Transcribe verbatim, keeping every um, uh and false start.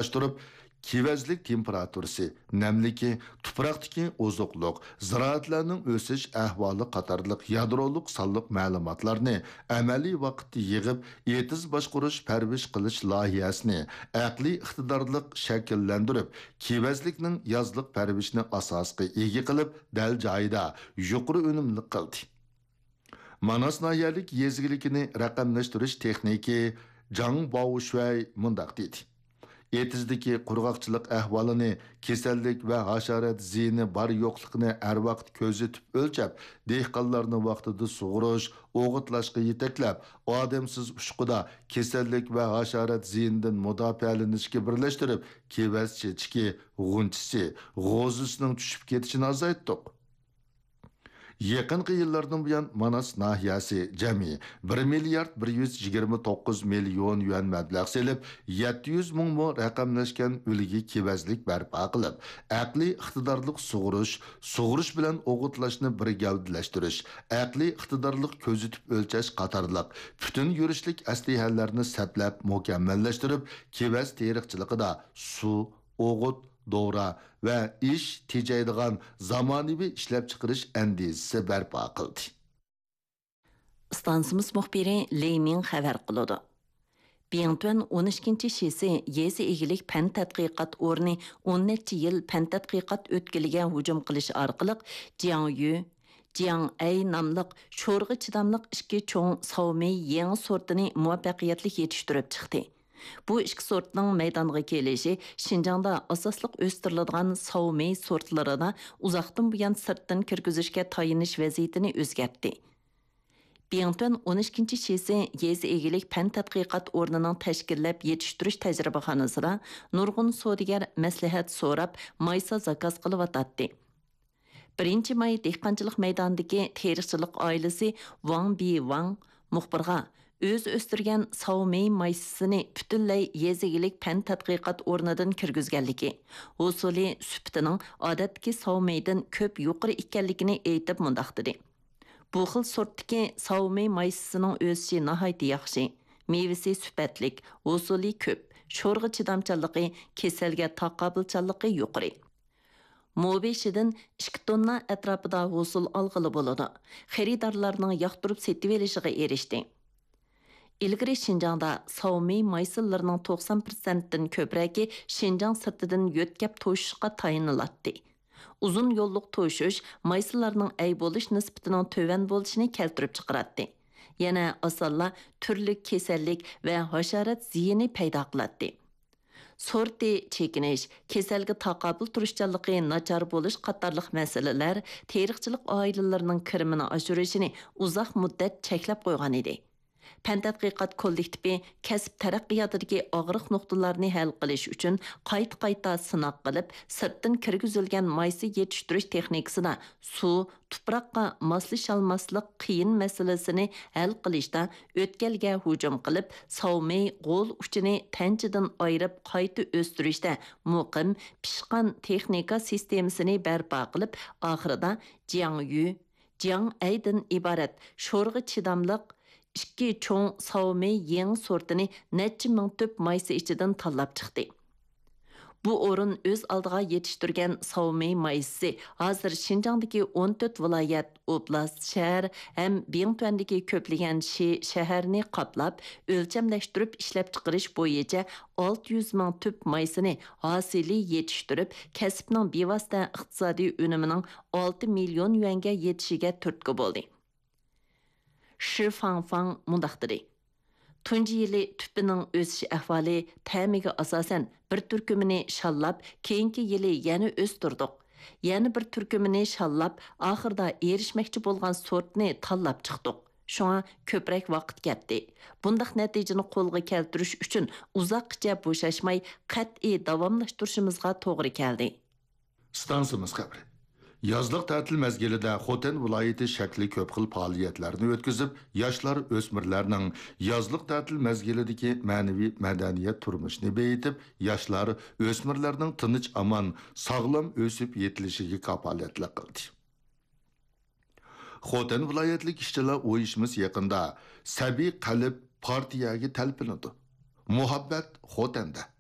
ئورۇنلاشتۇرۇپ، كېۋەزلىك تېمپېراتۇرىسى، نەملىكى، تۇپراقتىكى ئوزۇقلۇق، زىرائەتلەرنىڭ ئۆسۈش ئەھۋالى قاتارلىق يادرولۇق سانلىق مەلۇماتلارنى ئەمەلىي ۋاقىتتا يىغىپ، ئېتىز باشقۇرۇش پەرۋىش قىلىش لايىھەسىنى ئەقلىي ئىقتىدارلىق شەكىللەندۈرۈپ، كېۋەزلىكنىڭ يازلىق پەرۋىشىنى ئاساسقا ئىگە قىلىپ، دەل جايىدا يۇقىرى ئۈنۈملۈك قىلدى. ماناس ناھىيەلىك يېزا ئىگىلىكىنى رەقەملەشتۈرۈش تېخنىكى جاڭ باۋشۈەي مۇنداق دېدى: ئېتىزدىكى قۇرغاقچىلىق ئەھۋالىنى، كېسەللىك ۋە ھاشارات زىيىنى بار-يوقلۇقىنى ھەر ۋاقىت كۆزىتىپ ئۆلچەپ، دېھقانلارنى ۋاقتىدا سۇغۇرۇش، ئوغۇتلاشقا يېتەكلەپ، ئادەمسىز ئۇچقۇدا كېسەللىك ۋە ھاشارات زىيىنىدىن مۇداپىئەلىنىشكە بىرلەشتۈرۈپ، كېۋەز چېچىكى، غۇنچىسى، غوزىسىنىڭ چۈشۈپ كېتىشىنى ئازايتتۇق. يېقىنقى يىللاردىن بۇيان، ماناس ناھىيەسى جەمئىي بىر مىليارد بىر يۈز يىگىرمە توققۇز مىليون يۈەن مەبلەغ سېلىپ، يەتتە يۈز مىڭ مو رەقەملەشكەن ئۈلگە كېۋەزلىك بەرپا قىلىپ، ئەقلىي ئىقتىدارلىق سۇغۇرۇش، سۇغۇرۇش بىلەن ئوغۇتلاشنى بىر گەۋدىلەشتۈرۈش، ئەقلىي ئىقتىدارلىق كۆزىتىپ ئۆلچەش قاتارلىق پۈتۈن يۈرۈشلۈك ئەسلىھەلەرنى سەپلەپ مۇكەممەللەشتۈرۈپ، كېۋەز تېرىقچىلىقىدا سۇ، ئوغۇت، دورا ۋە ئىش تېجەيدىغان زامانىۋى ئىشلەپچىقىرىش ئەندىزىسى بەرپا قىلدى. ئىستانسىمىز مۇخبىرى لېي مىڭ خەۋەر قىلىدۇ. بىڭتۈەن ئون ئىككىنچى شىسى يېزا ئىگىلىك پەن تەتقىقات ئورنى ئون نەچچە يىل پەن تەتقىقات ئۆتكىلىگە ھۇجۇم قىلىش ئارقىلىق، جياڭيۈ، جياڭئەي ناملىق شورىغا چىداملىق ئىككى چوڭ ساۋمېي يېڭى سورتىنى مۇۋەپپەقىيەتلىك يېتىشتۈرۈپ چىقتى. بۇ ئىككى سورتنىڭ مەيدانغا كېلىشى شىنجاڭدا ئاساسلىق ئۆستۈرۈلىدىغان ساۋمېي سورتلىرىدا ئۇزاقتىن بۇيان سىرتتىن كىرگۈزۈشكە تايىنىش ۋەزىيىتىنى ئۆزگەرتتى. بىڭتۈەن ئون ئىككىنچى شىسى يېزا ئىگىلىك پەن تەتقىقات ئورنىنىڭ تەشكىللەپ يېتىشتۈرۈش تەجرىبىخانىسىدا نۇرغۇن سودىگەر مەسلىھەت سوراپ، مايسا زاكاز قىلىۋاتاتتى. بىرىنچى ماي دېھقانچىلىق مەيدانىدىكى تېرىقچىلىق ئائىلىسى ۋاڭ بىۋاڭ مۇخبىرغا ئۆزى ئۆستۈرگەن ساۋمېي مايسىسىنى پۈتۈنلەي يېزا ئىگىلىك پەن تەتقىقات ئورنىدىن كىرگۈزگەنلىكى، ھوسۇلى، سۈپىتىنىڭ ئادەتتىكى ساۋمېيدىن كۆپ يۇقىرى ئىكەنلىكىنى ئېيتىپ مۇنداق دېدى: بۇ خىل سورتتىكى ساۋمېي مايسىسىنىڭ ئۆسۈشى ناھايىتى ياخشى، مېۋىسى سۈپەتلىك، ھوسۇلى كۆپ، شورىغا چىدامچانلىقى، كېسەلگە تاقابىلچانلىقى يۇقىرى. مو بېشىدىن ئىككى توننا ئەتراپىدا ھوسۇل ئالغىلى بولىدۇ. خېرىدارلارنىڭ ياقتۇرۇپ سېتىۋېلىشىغا ئېرىشتى. ئىلگىرى شىنجاڭدا ساۋمېي مايسىلىرىنىڭ توقسان پىرسەنتتىن كۆپرەكى شىنجاڭ سىرتىدىن يۆتكەپ توشۇشقا تايىنىلاتتى. ئۇزۇن يوللۇق توشۇش مايسىلارنىڭ ئەي بولۇش نىسبىتىنىڭ تۆۋەن بولۇشىنى كەلتۈرۈپ چىقىراتتى. يەنە ئاسانلا تۈرلۈك كېسەللىك ۋە ھاشارات زىيىنى پەيدا قىلاتتى. سورتى چېكىنىش، كېسەلگە تاقابىل تۇرۇشچانلىقى ناچار بولۇش قاتارلىق مەسىلىلەر تېرىقچىلىق ئائىلىلىرىنىڭ كىرىمىنى ئاشۇرۇشىنى ئۇزاق مۇددەت چەكلەپ قويغان ئىدى. پەن تەتقىقات كوللېكتىپى كەسىپ تەرەققىياتىدىكى ئاغرىق نۇقتىلارنى ھەل قىلىش ئۈچۈن قايتا-قايتا سىناق قىلىپ، سىرتتىن كىرگۈزۈلگەن مايسا يېتىشتۈرۈش تېخنىكىسىدا سۇ، تۇپراققا ماسلىشالماسلىق قىيىن مەسىلىسىنى ھەل قىلىشتا ئۆتكەلگە ھۇجۇم قىلىپ، ساۋمېي غول ئۇچىنى تەنچىدىن ئايرىپ قايتا ئۆستۈرۈشتە مۇقىم، پىشقان تېخنىكا سىستېمىسىنى بەرپا قىلىپ، ئاخىرىدا جياڭيۈ، جياڭئەيدىن ئىبارەت شورىغا چىداملىق ئىككى چوڭ ساۋمېي يېڭى سورتىنى نەچچە مىڭ تۈپ مايسا ئىچىدىن تاللاپ چىقتى. بۇ ئورۇن ئۆز ئالدىغا يېتىشتۈرگەن ساۋمېي مايسىسى ھازىر شىنجاڭدىكى ئون تۆت ۋىلايەت، ئوبلاست، شەھەر ھەم بىڭتۈەندىكى كۆپلىگەن شى، شەھەرنى قاپلاپ، ئۆلچەملەشتۈرۈپ ئىشلەپچىقىرىش بويىچە ئالتە يۈز مىڭ تۈپ مايسىنى ھاسىلى يېتىشتۈرۈپ، كەسىپنىڭ بىۋاسىتە ئىقتىسادىي ئۈنۈمىنىڭ ئالتە مىليون يۈەنگە يېتىشىگە تۈرتكە بولدى. شى فاڭفاڭ مۇنداق دېدى: تۇنجى يىلى تۈپىنىڭ ئۆسۈش ئەھۋالى تەمىگە ئاساسەن بىر تۈركۈمىنى شاللاپ، كېيىنكى يىلى يەنە ئۆستۈردۇق. يەنە بىر تۈركۈمىنى شاللاپ، ئاخىرىدا ئېرىشمەكچى بولغان سورتنى تاللاپ چىقتۇق. شۇڭا كۆپرەك ۋاقىت كەتتى. بۇنداق نەتىجىنى قولغا كەلتۈرۈش ئۈچۈن ئۇزاققىچە بوشاشماي، قەتئىي داۋاملاشتۇرۇشىمىزغا توغرا كەلدى. ئىستانسىمىز خەۋىرى. يازلىق تەتىل مەزگىلىدە خوتەن ۋىلايىتى شەكلى كۆپ خىل پائالىيەتلەرنى ئۆتكۈزۈپ، ياشلار، ئۆسمۈرلەرنىڭ يازلىق تەتىل مەزگىلىدىكى مەنىۋى مەدەنىيەت تۇرمۇشىنى بېيىتىپ، ياشلار، ئۆسمۈرلەرنىڭ تىنچ-ئامان، ساغلام ئۆسۈپ يېتىلىشىگە كاپالەتلىك قىلدى. خوتەن ۋىلايەتلىك ئىشچىلار ئۇيۇشمىسى يېقىندا سەبىي قەلب پارتىيەگە تەلپۈنىدۇ. مۇھەببەت خوتەندە.